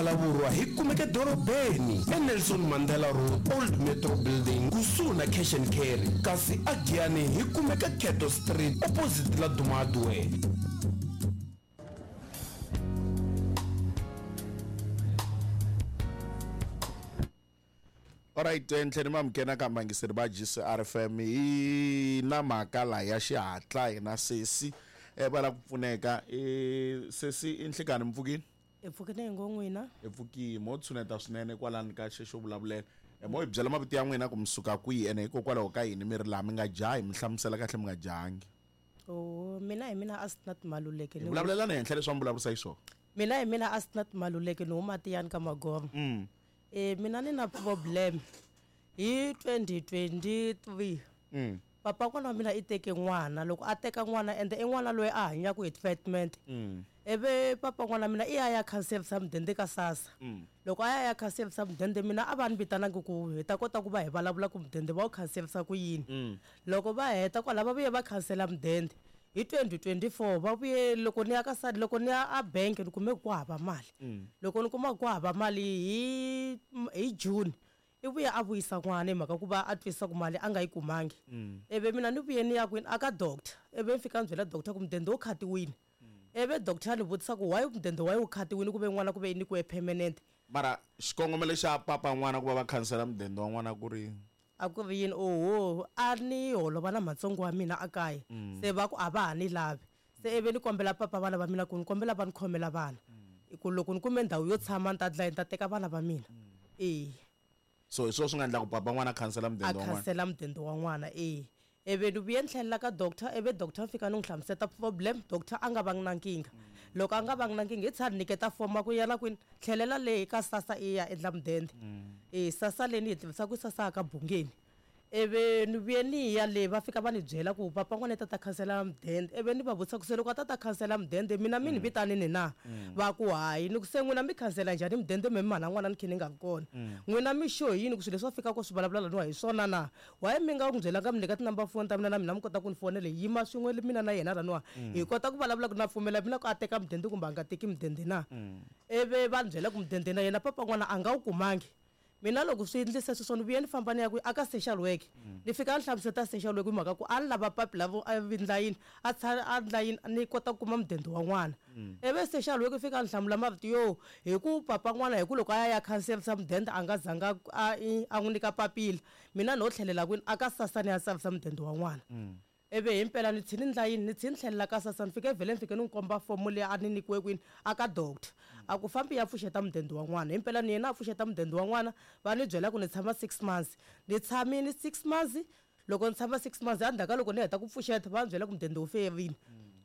Phalavurwa hi kumeka edorobeni eNelson Mandela Road, Old Metro Building, kusuhi na Cash and Carry, kasi aGiyani hi kumeka Cato Street, opposite Laduma Hardware. Alright, ntlheni ma mukena ka mangiseri va GCRFM hi na mhaka la ya xihatla hina sesi va lava ku pfuneka. Sesi i nhlikani mi pfukile? Hi pfukile hi ngo n'wina. Hi pfukile, mo tshuneta swinene kwalani ka xexo vulavulela. Mo hi byela mavito ya n'wina ku mi suka kwihi ene hikokwalaho ka yini mi ri laha mi nga jahi, mi hlamusela kahle mi nga jahangi. Oh, mina hi mina Asnath Maluleke. Hi vulavulelana henhla leswi va mi vulavurisa xiswona. Mina hi mina Asnath Maluleke ni huma Tiyani ka Magoma. Mina ni na problem hi 2023. Papa n'wana wa mina i teke n'wana, loko a teka n'wana ende i n'wana loyi a hanyaka hi treatment. Ivi papa n'wana mina i ya ya khanserisa mudende ka SASSA. Loko a ya ya khanserisa mudende mina a va ni vitanangi ku hi ta kota ku va hi vulavula ku mudende va wu khanserisa ku yini. Loko va heta kwala va vuye va khansela mudende. Hi 2024 va vuye loko ni ya ka loko ni ya a bank ni kume ku hava mali. Loko ni kuma ku hava mali hi hi June i vuye a vuyisa n'wana hi mhaka ku va a twisisa ku mali a nga yi kumangi. Ivi mina ni vuye ni ya kwini a ka doctor ivi ni fika ni byela doctor ku mudende wu khatiwile. Ivi doctor a ni vutisa ku why mudende wa wu khatiwile ku ve n'wana ku ve i nyikiwe permanent. Mara xikongomelo xa papa n'wana ku va va khansela mudende wa n'wana ku ri A ku ri yini? Oho, a ni holova na matsongo wa mina a kaya. Se va ku a va ha ni lavi. Se ivi ni kombela papa vana va mina ku ni kombela va ni khomela vana. Hi ku loko ni kume ndhawu yo tshama ni ta dlaya ni ta teka vana va mina. E. So hi swona swi nga endla ku papa n'wana a khansela A mudende wa n'wana? khansela mudende wa n'wana, e. Ivi ni vuye ni tlhelela ka doctor, ivi doctor ni fika ni n'wi hlamuseta problem, doctor a nga vangi na nkingha. Loko a nga vangi na nkingha i tsha ni nyiketa form a ku yana kwini, tlhelela le ka SASSA i ya endla mudende. E SASSA leyi ni yi tivisa ku i SASSA ya ka Bungeni. Ivi ni vuye ni ya le va fika va ni byela ku papa n'wana i ta ta khansela mudende. Ivi ni va vutisa ku se loko a ta ta khansela mudende mina mi ni vitanini na? Va ku hayi. Ni ku se n'wina mi khansela njhani mudende me mhana n'wana ni khe ni nga ri kona? N'wina mi sure hi yini ku swilo leswi va fikaka swi vulavula laniwa hi swona na? Why mi nga n'wi byelanga mi nyika ti-number phone ta mina na mina mi kota ku ni fonela hi yima swin'we mina na yena laniwa hi kota ku vulavula ku na pfumela mina ku a teka mudende kumbe a nga teki mudende na? Ivi va ni byela ku mudende na yena papa n'wana a nga wu kumangi. Mina loko swi endlise sweswo ni vuye ni famba ni ya kwihi a ka social work. Ni fika ni hlamuseta social work hi mhaka ku a ni lava papila ro a endla yini a a endla yini ni kota ku kuma mudende wa n'wana. Ivi social work yi fika ni hlamula marito yo hi ku papa n'wana hi ku loko a ya ya khanserisa mudende a nga zanga a a n'wi nyika papila mina no tlhelela kwini a ka SASSA ni ya tsarisa mudende wa n'wana. Ivi himpela ni tshini ndla yini ni tshini tlhelela ka SASSA ni fike vhele ni fike ni n'wi komba fomo leyi a ni nyikiwe kwini a ka doctor a ku fambi ya pfuxeta mudende wa n'wana himpela ni yena a pfuxeta mudende wa n'wana va ni byela ku ni tshama 6 months ni tshamile 6 months loko ni tshama 6 months endzhaku ka loko ni heta ku pfuxeta va ni byela ku mudende wu feyerile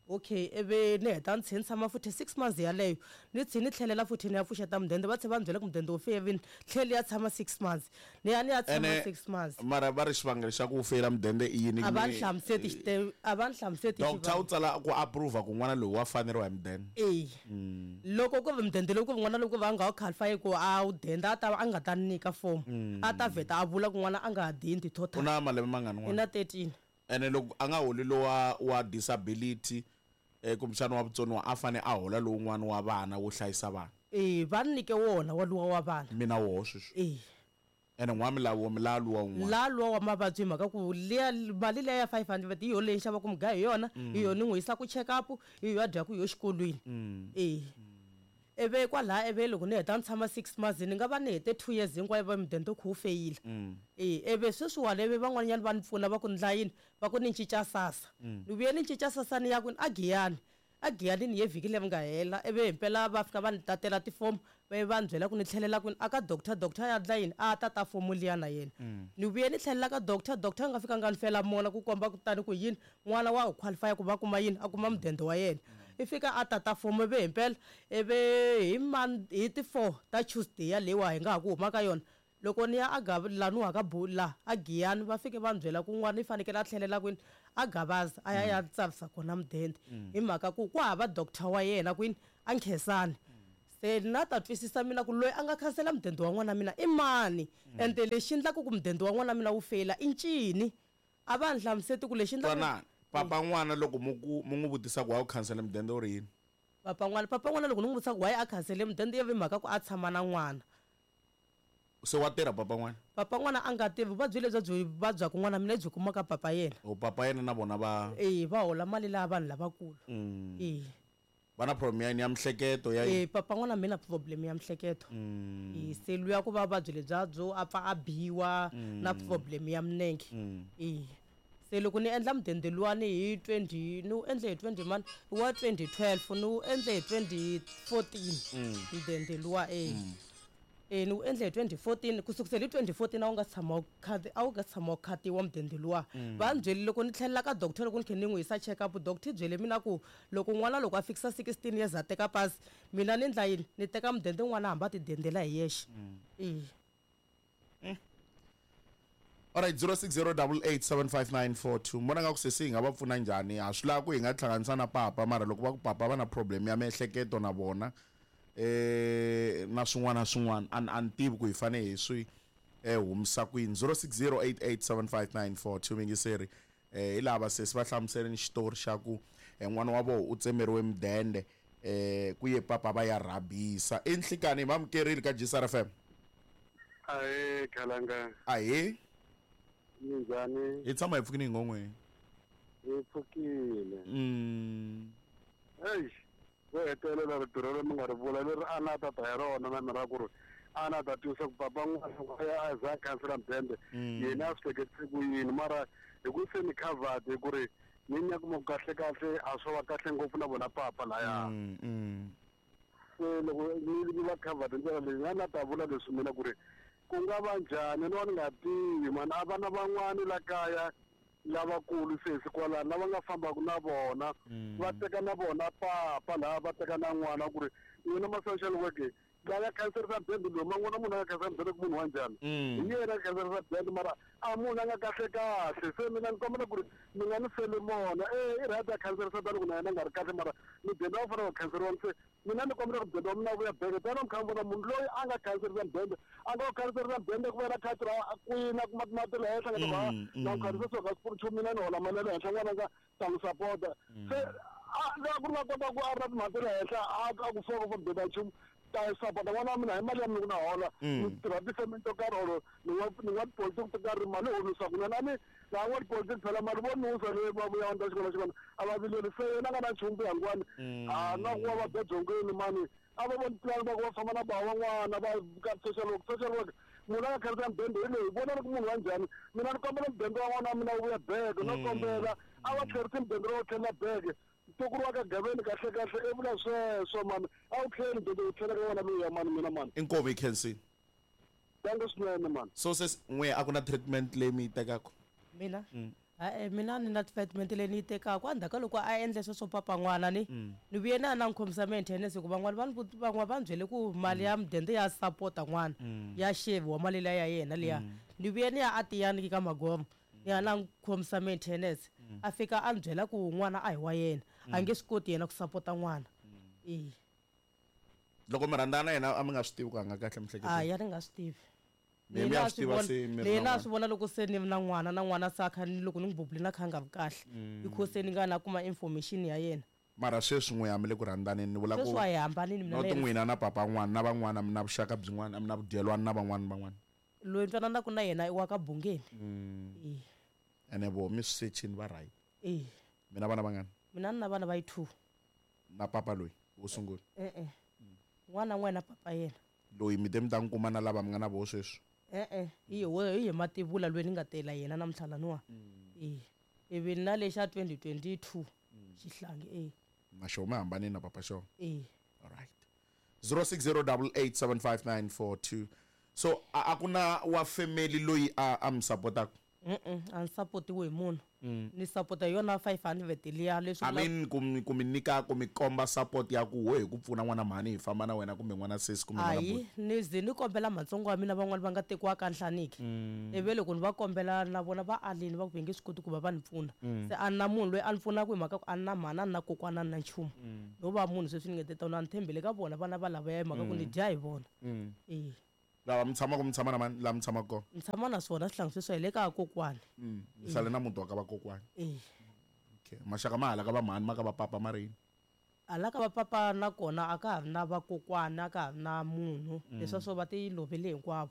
okay ivi ni heta ni tlhela ni tshama futhi 6 months yaleyo ni tlhela ni tlhelela futhi ni ya pfuxeta mudende va tlhela va ni byela ku mudende wu feyerile tlhela ya tshama 6 months ni ya ni ya tshama Ene 6 months mara va ri xivangelo xa ku feyila mudende i yini a va ni hlamuseti xite a va ni hlamuseti doctor u tsala ku approve ku n'wana loyi wa faneriwa hi mudende e loko ku ri mudende lowu ku ri n'wana loko va nga wu qualify ku a wu denda a ta a nga ta ni nyika form a ta vheta a vula ku n'wana a nga ha dendi u total na malembe mangani i n'wana na 13 ene loko a nga holi lowa wa disability kumbexana wa vutsoniwa a fane a hola lowun'wana wa vana wo hlayisa vana e va ni nyike wona waluwa wa vana mina woho sweswi e ene n'wa milawu milawu luwa wun'wana la luwa wa mavabyi hi mhaka ku liya mali liya ya 500 hi yona leyi xavaku mugayo hi yona hi yona ni n'wi yisaka check up hi yo a dyaku hi yo xikolweni e ivi kwalaha ivi loko ni heta ni tshama 6 months ni nga va ni hete 2 years hinkwayo va mudende wu kha wu feyila e ivi sweswiwani ivi van'wanyana va ni pfuna va ku ndla yini va ku ni cinca SASSA ni vuye ni cinca SASSA ni ya kwini a Giyani a Giyani ni ye vhiki leri nga hela ivi himpela va fika va ni tatela tifomo va va ni byela ku ni tlhelela kwini a ka doctor doctor ya ndla yini a tata fomo liya na yena ni vuye ni tlhelela ka doctor doctor a nga fika nga ni fela mona ku komba kutani ku yini n'wana wa qualify ku va kuma yini a kuma mudende wa yena i fika a tata fomo ivi himpela ivi hi man hi ti 4 ta Tuesday yaleyiwa hi nga ha ku huma ka yona loko ni ya a laniwa ka la a Giyani va fike va ni byela ku n'wana i fanekele a tlhelela kwini a Gavaza a ya ya tsarisa kona mudende hi mhaka ku ku hava doctor wa yena kwini a Nkhensani se na ta twisisa mina ku loyi a nga khansela mudende wa n'wana mina i mani ende lexi endlaka ku mudende wa n'wana mina wu feyila i ncini a va ni hlamuseti ku lexi endlaka twanani papa n'wana loko mu ku mu n'wi vutisa ku wa wu khansela mudende u ri yini? Papa n'wana, papa n'wana loko ni n'wi vutisa ku why a khansele mudende ya ve mhaka ku a tshama na n'wana. Se wa tirha papa n'wana? Papa n'wana a nga tirhi, vuvabyi lebyi byi vabyaku n'wana mina byi kuma ka papa yena. O papa yena na vona va. Eya, va hola mali laha vanhu lavakulu. Eya. Va na problem ya yini ya mihleketo ya yini? Papa n'wana mina problem ya mihleketo. E se luya ku va vuvabyi lebya byo a pfa a biwa na problem ya minenge. E se loko ni endla mudende luwani hi 20 ni wu endle hi 20 mani wa 2012 ni wu endle hi 2014 mudende luwa e. E ni wu endle hi 2014 ku sukusela hi 2014 a wu nga tshama wu a wu nga tshama wu khatiwa mudende luwa. Va ni byele loko ni tlhelela ka doctor loko ni khe ni n'wi yisa check up doctor yi byele mina ku loko n'wana loko a fikisa 16 years a teka pasi mina ni ndla yini ni teka mudende n'wana hamba a ti dendela hi yexe. E. Alright 0608875942 mi vona nga ku sesi hi nga va pfuna njhani ha swi lava ku hi nga hlanganisa na papa mara loko va ku papa va na problem ya miehleketo na vona eh na swin'wana na swin'wana a a ni tivi ku hi fanele hi swi eh humisa kwini 0608875942 mingiseri eh hi lava sesi va hlamuseleni xitori xa ku eh, n'wana wa vona u tsemeriwe mudende eh ku ye papa va ya rhabisa i nhlikani hi mamukerile ka GCR FM. Ahee khalanga. Ahee. Minjhani? Hi tshama hi pfukile hi ngon'we. Hi pfukile. Eish, vo hetelela rito rero mi nga ri vula leri a na ta ta hi rona na mina ra ku ri a na ta twisa ku papa n'wana a ya a za a khansela mudende yena a swi hleketise ku yini mara hi ku se ni covered hi ku ri ni ni ya kuma ku kahle kahle a swo va kahle ngopfu na vona papa laya. Se loko ni ni va covered hi ndlela leyi a na ta vula leswi mina ku ri ku nga va njhani no a ni nga tivi mani a vana van'wani la kaya lavakulu sesi kwalano lava nga fambaka na vona va teka na vona papa laha va teka na n'wana ku ri n'wina ma social work la nga khanserisa bende loyi ma n'wana munhu a nga khansela mudende ku munhu wa njhani hi yena a khanserisa bende mara a munhu a nga kahle kahle se mina ni kombela ku ri mi nga ni feli mona e i right a khanserisa tani ku na yena a nga ri kahle mara mudende a wu fanele ku khanseriwa se mina ni kombela ku mudende wa mina wu vuya beke tani mi kha mi vona munhu loyi a nga khanserisa mudende a nga wu khanserisa mudende ku vena khadi ra kwini a kuma timali ta le henhla nga ta va na ku khanserisa swo ka swi nchumu mina ni hola mali ya le henhla n'wana nga ta n'wi sapota se a la ku ri nga kota ku a ri na timhaka ta le henhla a a ku foko for mudende nchumu ta sapota n'wana wa mina hi mali ya mina ku na hola ni tirha tifemeni to karhi or ni n'wa ni n'wa tipolitiki to karhi mali honisa kunene a ni laha n'wa tipolitiki phela mali vo nusa leyi va vuya ta xikolo xikolo a va vileli se yena a nga na nchumu ku ya ngwani a na ku va va bya byongweni mani a va voni plan va ku va famba na ba van'wana va ka social work social work munhu a nga khandziya mudende hi loyi vona ni ku munhu wa njhani mina ni kombela mudende wa n'wana wa mina wu vuya beke no kombela a va tlherisi mudende lowu tlhelela beke ntukulu wa ka gaveni kahle kahle i vula sweswo mani a wu tlheli mudende wu tlhela ka wona luya mani mina mani. Inkomu yi khensile. Danko swinene mani. So sesi n'we a ku na treatment leyi mi yi tekaka? Mina? Ha-e mina a ni na treatment leyi ni yi tekaka endzhaku ka loko a endle sweswo papa n'wana ni ni vuye na ya na n'wi khomisa maintenance hikuva van'wana va ni van'wana va ni byele ku mali ya mudende ya sapota n'wana ya xaviwa mali liya ya yena liya ni vuye ni ya a Tiyani ka Magoma ni ya na n'wi khomisa maintenance a fika a ni byela ku n'wana a hi wa yena a nge swi koti yena ku sapota n'wana e. Loko mi rhandzana yena a mi nga swi tivi ku a nga kahle miehleketweni? Hayi a ni nga swi tivi. Mi mi ya swi tiva se mi ri na swi vona loko se ni na n'wana na n'wana se a kha ni loko ni n'wi bubulini a kha a nga vi kahle because se ni nga na kuma information ya yena. Mara sweswi n'we a mi le ku rhandzaneni ni vula ku Sweswi wa hi hambanile mina not na yena. n'wina na papa n'wana na van'wana a mi na vuxaka byin'wana a mi na vudyelwani na van'wana van'wana. Loyi ni twananaka na yena i wa ka Bungeni. E. Ene voho mi swi sechini va right. E. Mi na vana vangani? Mina ni na vana va yi 2. Na papa loyi wo sungula? E-e. N'wana n'we na papa yena. Loyi mi te mi ta n'wi kuma na lava mi nga na voho sweswi? E-e, hi yehe hi yehe mativula loyi ni nga tela yena namuntlha laniwa. E. Ivi na lexa 2022 xihlangi e. Na xona mi hambanile na papa xona? E. Alright. 0608875942. So a a ku na wa family loyi a a mi sapotaka? Mm a ni sapotiwi hi munhu. Ni sapota hi yona 500 liya leswi I mean ku mi ku mi nyika ku mi komba support ya ku wo hi ku pfuna n'wana mhani hi famba na wena kumbe n'wana sesi kumbe n'wana Hayi buti. ni ze ni kombela matsongo wa mina van'wani va nga tekiwa ka Nhlaniki. Ivi loko ni va kombela na vona va alini va ku va nge swi koti ku va va ni pfuna. Se a ni na munhu loyi a ni pfunaka hi mhaka ku a ni na mhani a ni na kokwana a ni na nchumu. No va munhu sweswi ni nge te tano a ni tshembele ka vona vana va lavaya hi mhaka ku ni dya hi vona. E. Lava mi tshamaka mi tshama na mani laha mi tshamaka kona? Ni tshama na swona swihlangi sweswi hi le ka kokwani. Mi sale na muti wa ka vakokwani. E. Okay. Maxaka ma hala ka va mhani ma ka va papa ma ri yini? Hala ka vapapa na kona a ka ha ri na vakokwana, a ka ha ri na munhu, leswiya swo va ti lovele hinkwavo.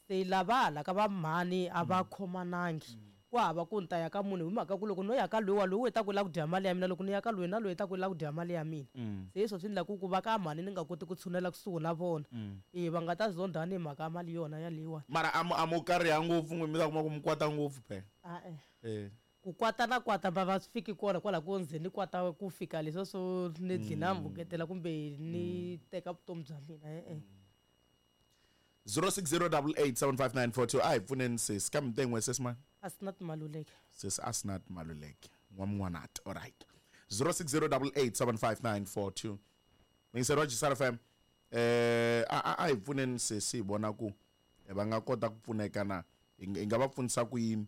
Se lava hala ka va mhani a va khomanangi, ku hava ku ni ta ya ka munhu hi mhaka ku loko no ya ka loyiwa, loyi u ta ku u lava ku dya mali ya mina, loko ni ya ka loyi na loyi u ta ku u lava ku dya mali ya mina. Se hi swo swi endlaku ku va ka mhani ni nga koti ku tshunela kusuhi na vona, e va nga ta zondhani hi mhaka ya mali yona yaleyiwani. Mara a mu a mu kariha ngopfu n'wi mi ta kuma ku mi kwata ngopfu phela. E-e. Eh. Ku kwata na kwata va va swi fiki kona kwala ku nze ni kwata ku fika leswiya swo ni dlina mbuketela kumbe ni teka vutomi bya mina, e-e. 0608875942 a hi pfuneni sesi ka miten'we sesi mani? Asnat Maluleke. Sesi Asnat Maluleke n'wamn'wanati. Alright, 0608875942, mingiseri wa Jisar FM, a a hi pfuneni sesi hi vona ku va nga kota ku pfuneka na hi nga va pfunisa ku yini.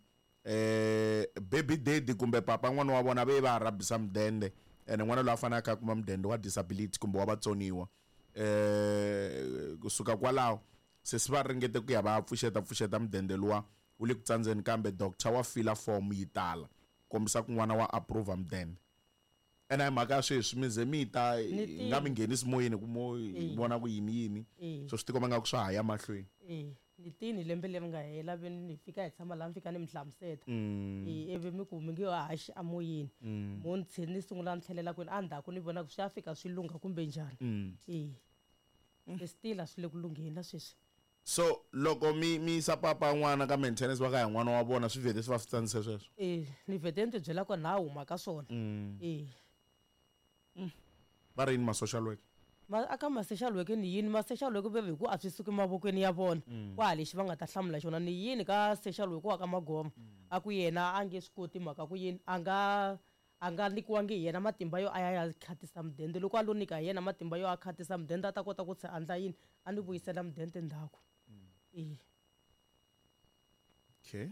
Baby daddy kumbe papa n'wana wa vona ve va rhabisa mudende, ene n'wana loyi a fanele a kha a kuma mudende wa disability kumbe wa vatsoniwa. Kusuka kwalaho sesi va ringete ku ya va pfuxeta pfuxeta mudende luwa wu le ku tsandzeni, kambe doctor wa fila form yi tala kombisa ku n'wana wa approve mudende. Ene hi mhaka ya sweswi mi ze mi ta hi nga mi nghenisi moyeni ku mo hi vona ku yini yini, so swi tikomba nga ku swa ha ya mahlweni. Ni tini lembe leri nga hela ve ni fika hi tshama laha, mi fika ni mi hlamuseta, ivi mi ku mi nge haxi amoyeni, mo ni tlhe ni sungula ni tlhelela kwini endzhaku ni vona ku swi ya fika swi lungha kumbe njhani. E still a swi le ku lungheni na sweswi. So loko mi mi yisa papa n'wana ka maintenance va ka hi n'wana wa vona, swi vhete swi va swi tsandzise sweswo? E, ni vhete ni ti byela ku na huma ka swona. E. Va ri yini ma social worker? Ma aka ma social worker ni yini ma social worker ve hi ku a swi suki mavokweni ya vona, ku ha lexi va nga ta hlamula xona. Ni yini ka social worker wa ka Magoma, a ku yena a nge swi koti mhaka ku yini a nga nyikiwangi hi yena matimba yo a ya ya khatisa mudende. Loko a lo nyika hi yena matimba yo a khatisa mudende, a ta kota ku se andla yini, a ni vuyisela mudende ndzhaku. E. Okay.